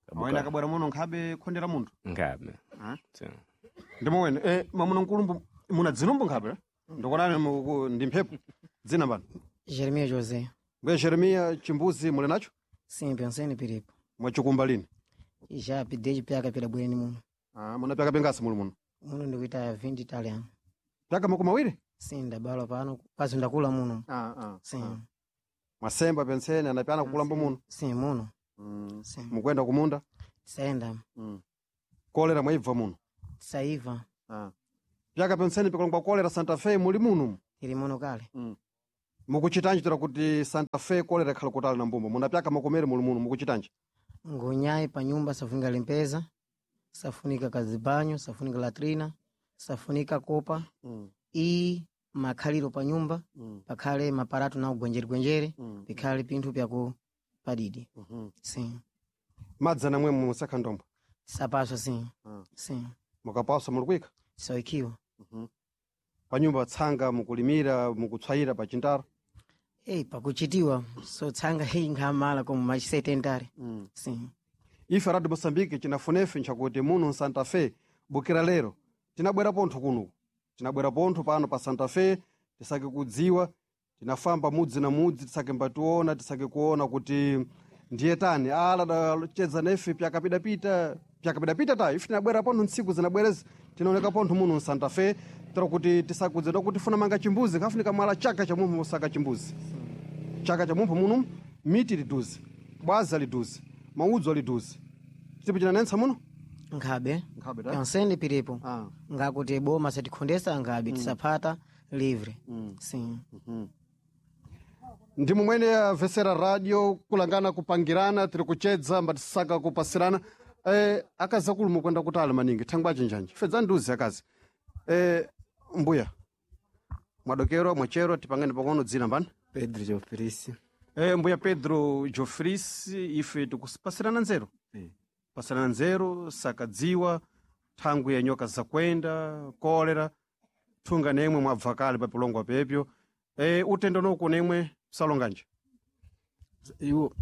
Kabuka. Awena akabwera muno nkhabe khondera munthu. Ngabe. So, Ndimo wene, mwamuna nkulumbu muna dzinombo nkhabe? Eh? Ndikonani ndi mphepo. Dzina mbani? Jeremias José. Mbuya Jeremiah chimbuzi muli nacho? Sim, pensei no piripo. Mwachikumba lini? Já desde piaka pela bweni muno. Ah, muna pyaka pengasi muli muno. Muno ndikuita 20 italiano. Pyaka makumi awiri? Sim, ndabala pano, quase ndakula muno. Sim. Mwasemba penseni anapyana kukulambo muno. Sim, muno. Sim. Mukwenda kumunda? Tisaenda. Kolera mwaibva muno. Tisaiva. Pyaka penseni pikulongwa kolera Santa Fe muli muno. Tiri muno kale. Mukuchitanji tira kuti Santa Fe kolera ikhala kutali na mbumba. Muna pyaka makomere muli muno mukuchitanji. Ngunyai pa nyumba safunika limpeza, safunika kazibanyo, safunika latrina, safunika kopa. E makhaliro pa nyumba, pakhale maparato na ugwenjeregwenjere, pikhale pinthu pyaku padidi. Sim. Madzi anamwe musakha ndombo. Tisapaswa sim. Sim. Mukapaswa muli kuyika? Tisaukiwa. Pa nyumba tsanga mukulimira, mukutswayira pa chintaro. Ei, pakuchitiwa so tsanga hei nkhamala como machisetentare. Sim. Ife Radio Moçambique chinafunefe nchakuti muno Santa Fe bukira lero tinabwera pontho kuno tinabwera pontho pano pa Santa Fe tisake kudziwa tinafamba mudzi na mudzi tisake mbationa tisake kuona kuti Ndiye tani ala dachedza nefe pyakapidapita pyakapidapita ta ife tinabwera pontho ntsiku zinabwerezi tinaoneka pontho muno msanta Fe tero kuti tisakudze kuti funa manga chimbuzi kafunika mwala chaka cha mumpho mosaka chimbuzi chaka cha mumpho muno miti liduze bwaza liduze maudzo aliduze chipo chinanentsa muno Nkhabe. Nkhabe, ta? Yonsene piripo. Ngakuti boma satikhondesa nkhabe tisapata livre. Sim. Ndi mumwene avesera radio kulangana kupangirana tiri kuchedza mbatisaka kupasirana akazi akulu mukwenda kutali maningi thangwa chinjanji fedza nduzi akazi mbuya mwadokero mwachero tipangani pang'ono dzina mbani Pedro Jofrisi. Mbuya Pedro Jofris ife tikusipasirana nzeru pasirana nzeru sakadziwa thangwi ya nyoka zakwenda kolera thunga nemwe mwabva kale papilongwa pepyo utendo noku nemwe salonganje Iwo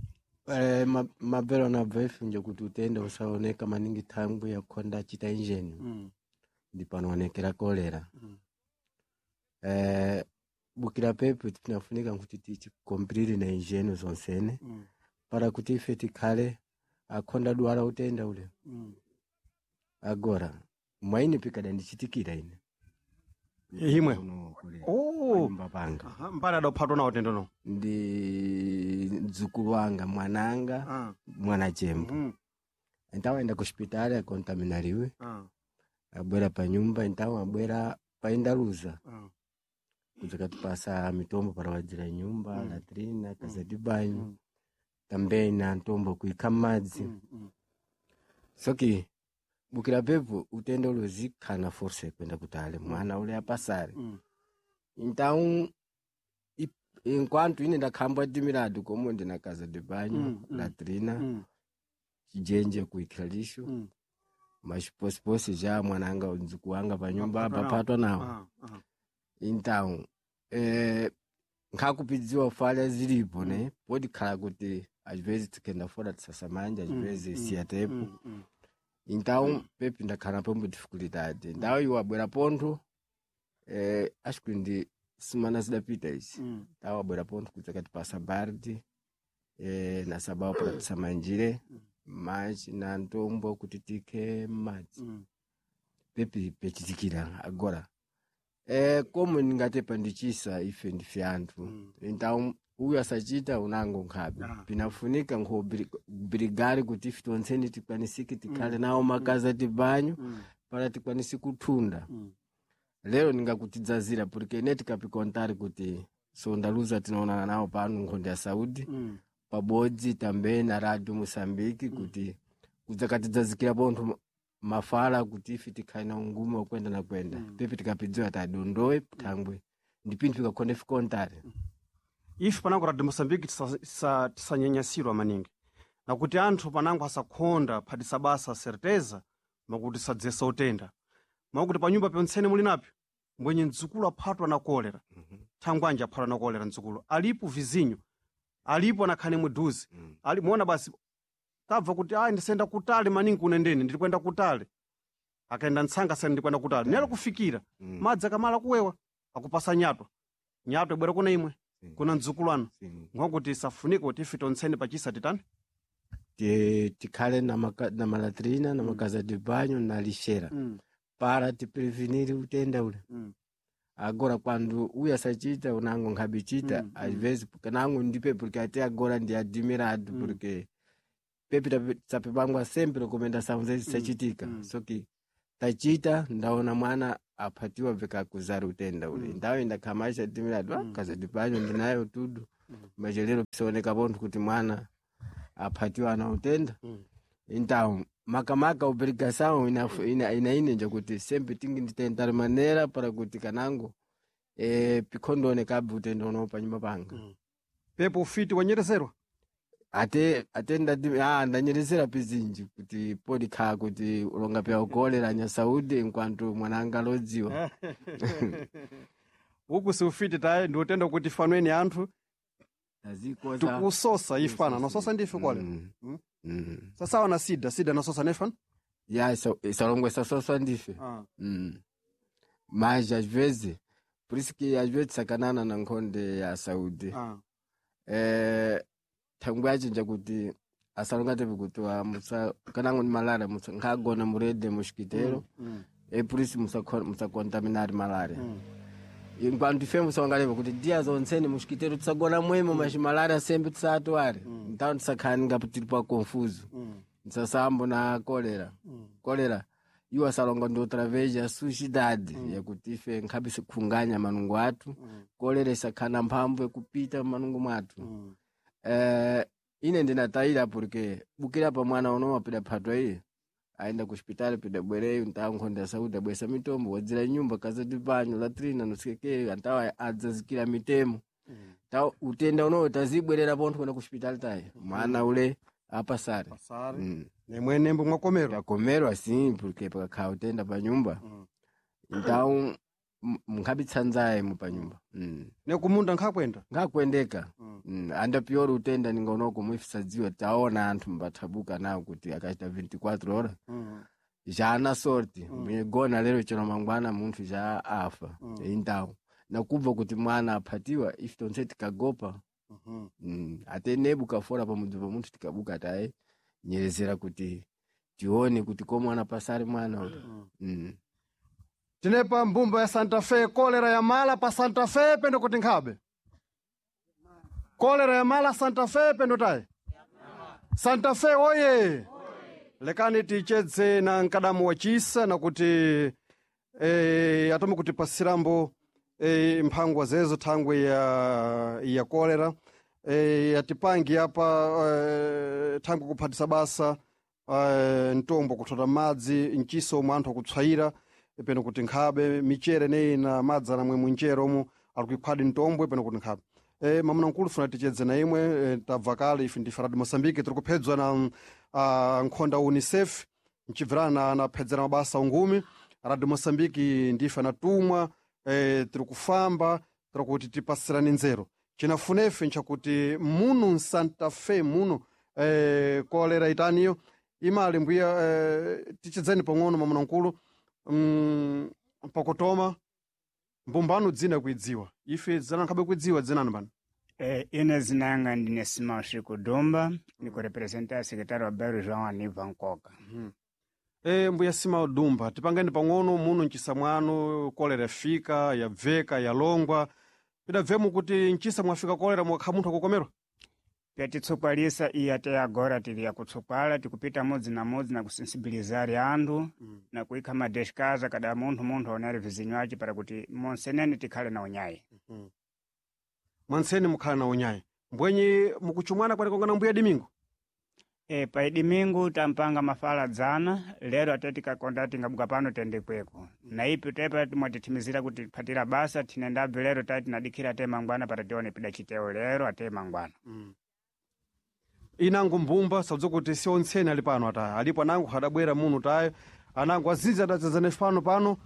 mabvero anabva ifunja kuti utenda usaoneka maningi thangwi yakhonda achita injeni ndi panoonekera kolera. Bukira pepo tinafunika kuti tichikomplire na injeni zonsene para kuti ife tikhale akhonda dwala utenda ule. Agora mwaine pikada ndichitikira ine Imwe oh. Panga mbali adaphatwa nawo utendo no ndi mdzukulu wanga mwananga mwana chembo então aenda ku hospitali akontaminariwe abwera pa nyumba então abwera paindaluza kudzakatipasa mitombo para wadzira nyumba latrina kaza de banho também na ntombo kuikha madzi soki bukira pepo utenda ule uzikhana força kwenda kutale mwana ule apasare então enquanto ine ndakhamba timiradu como ndina casa de banho latrina chijenje kuikhira lixo mas posiposi já mwananga mdzukulu wanga panyumba apaphatwa nawo então nkhakupidziwa falha zilipo ne pode khala kuti às vezes tikenda fora tisasamanja às vezes siyatepo então pepi ndakhala pombo dificuldade então iwo abwera pontho acho que ndi semana zidapita izi então abwera pontho kuti akatipasa bardi na sabao para tisamanjire mas na ntombo kuti tikhe madzi pepi pechitikira agora como ndingatepa ndichisa ife ndife anthu então uyu asachita unango nkhabe pinafunika nkhobrigari kuti ife tonseni tikwanisike tikhale nawo makazi de banho para tikwanise kuthunda lero ndingakutidzazira porque ine tikapikontari kuti sondaluza tinaonana nawo pano nkhonde ya saudi pabodzi também na radio moçambique kuti kudzakatidzazikira pontho mafala kuti ife tikhale na ungume wakwenda na kwenda pepi tikapidziwa tadondowe thangwe ndi pinthu ikakhonde fikontari ife panango radio moçambique tisanyanyasidwa maningi nakuti anthu panango asakhonda phatisa basa certeza makuti sadzesa utenda makuti panyumba ponsene muli napyo mbwenye mdzukulu aphatwa na kolera thangwanji aphatwa na kolera mdzukulu alipo vizinyo alipo anakhane mudhuze ali muona basi tabva kuti ayi ndisayenda kutali maningi kunendeni ndiri kuyenda kutali akaenda ntsanga sani ndikwenda kutali nelo kufikira madzi akamala kuwewa akupasa nyatwa nyatwa ibwera kuna imwe kuna mdzukulu anu nkokuti isafunike kuti ife tonsene pachisa titani tikhale na malatrina na makaza de banho na lixera para tiprevenir utenda ule agora quando uyu asachita unango nkhabichita às vezes kanango ndipe porque até agora ndi admirado porque pepi tapepangwa sempre recomendação zezi zisachitika so que tachita ndaona mwana aphatiwa vikakuzara utenda ule ndawo indakhamasha admirado ah, kaza de banho ndinayo tudo mas lero pisaoneka pontho kuti mwana aphatiwa na utenda então makamaka obrigação ina kuti sempre tingi nditentar maneira para kuti kanango pikhondoonekabe utenda uno panyumba panga pepo ufiti wanyereserwa ate ndati ndanyerezera pizinji kuti podikhala kuti ulonga pya ukolera nyasaudi enquanto mwananga alodziwa uku si ufiti tayi ndi utenda kuti fanweni anthu tikusosa ifana nososa ndife kole sasawa na sida sida nasosa nefana ya isalongwe sasosa ndife mas às vezes por isso que às vezes sacanana na nkhonde ya saúde Thangwe achinja kuti asalongatepe kuti wa musa kanango ni malaria musa nkhagona murede muxikitero e por isso musakontaminari malaria. Enquanto ife musawangaleva kuti dia zonsene muxikitero tisagona mwemo mas malaria sempre tisatware. Então tisakhaninga tiri pa confuso tisasambo na kolera. Kolera iwo asalonga ndi outra vez a sujidade yakuti ife nkhabe sikhunganya manungo athu. Kolera isakhana mphamvu yakupita manungo mwathu. Ine ndinatayira porque bukira pa mwana uno wapida phatwa iye aenda ku hospitali pida bwereyo ntawo nkhonda ya saúde abwesa mitombo wadzira nyumba kaza de banho latrina nosekeke antawo adzazikira mitemo tawo utenda unowo tazibwerera pontho kwenda ku hospitali tayi mwana ule apasare. Nemwenembo mwakomerwa. Takomerwa sim porque pakakhala utenda pa nyumba então mnkhabitsanzaye mu panyumba. Nekumunda nkhakwenda. Nkhakwendeka. Anda pior utenda ningonoko muifisadziwa taona anthu mbathabuka nawo kuti akachita 24 horas já ana sorte migona lero chero mangwana munthu já afa. Então nakubva kuti mwana aphatiwa ife tonse tikagopa. Ate nebuka fora pamudzi pa munthu tikabuka taye nyerezera kuti tione kuti ko mwana pasari mwana uyu. Tinepa mbumba ya Santa Fe kolera ya mala pa Santa Fe pendo kuti nkhabe. Kolera ya mala Santa Fe pendo tayi. Santa Fe oye. Lekani tichedze na mkadamu wa chisa na kuti atome kutipasirambo mphangwa zezo thangwe ya kolera atipangi apa thangwe kuphatisa basa mtombo kuthota madzi mchiso omwe anthu akutswayira peno kuti nkhabe michere neyi na madzi anamwe munchere omwe alikuikhwadi mtombwe peno kuti nkhabe. Mamuna mkulu funa tichedze na imwe tabva kale ife ndi Farad Mosambike tiri kuphedzwa na nkhonda UNICEF mchibvirana anaphedzera mabasa ungumi Radio Mosambike ndife anatumwa tiri kufamba tiri kuti tipasirane nzeru chinafunefe nchakuti muno Santa Fe muno kolera itaniyo imali mbuya tichedzeni pang'ono mamuna mkulu pakutoma mbumbano dzina kuidziwa ife dzina nkhabe kuidziwa dzinani pano. Ine zinanga ndine Simão Chico Dumba, ndikurepresenta secretário wa bairro João Aniva Nkoka. Mbuya Simão Dumba tipangeni pang'ono muno mchisa mwanu kolera yafika yabveka yalongwa pidabvemu kuti mchisa mwafika kolera mwakha munthu akukomerwa. Pyatitsukwalisa iya te agora tili yakutsukwala tikupita mudzi na mudzi na kusensibilizari anthu na kuikha madeshikaza kada munthu aonere vizinyo ace para kuti monsenene tikhale na unyayi. Mwanseni mukhala na unyayi mbwenye mukuchumwana kwanikongana mbuya Dimingo. Pa Dimingo tampanga mafala dzana lero ate tikakonda tingabuka pano tende kweko na ipi tepa timwatithimizira kuti tiphatira basa tinendabve lero tati tinadikhira te mangwana para tione pida chiteo lero ate mangwana. Inango mbumba sabza kuti si ontseni ali pano ataya alipo anango adabwera muno tayo anango azinji adadzadzana pano pano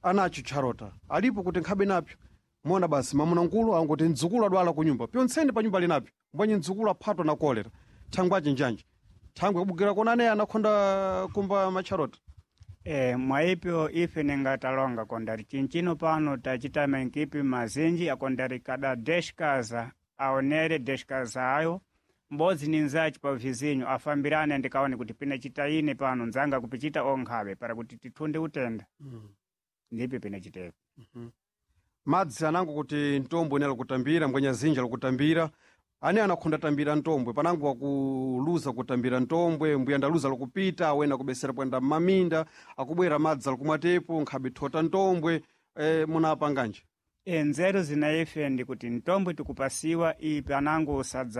anacho tcharota alipo kuti nkhabe napyo mona basi mamuna nkulu angoti mdzukulu adwala ku nyumba pyontseni pa nyumba ali napyo mbwenye mdzukulu aphatwa na kolera thangwe achinjanji thangwe kubukira kona ane anakhonda kumba matcharota. Mwaipyo ife ningatalonga kondari chinchino pano tachita mankipi mazinji akondari kada deshkaza aonere deshkaza ayo mbodzi ni nzachi pa vizinyo afambirane ndikaone kuti pina chitaine pano nzanga kupichita onkhabe para kuti tithunde utenda. Ndipi pina chitepo. Madzi anango kuti mtombwe ine alikutambira mbwenya zinji alikutambira ane anakhonda tambira ntombwe panango akuluza kutambira ntombwe mbuya ndaluza likupita awena kubesera kuyenda mmaminda akubwera madzi alikumwatepo nkhabe thota ntombwe munapanganje. Nzeru zina ife ndikuti ntombwe tikupasiwa iyi panango usadza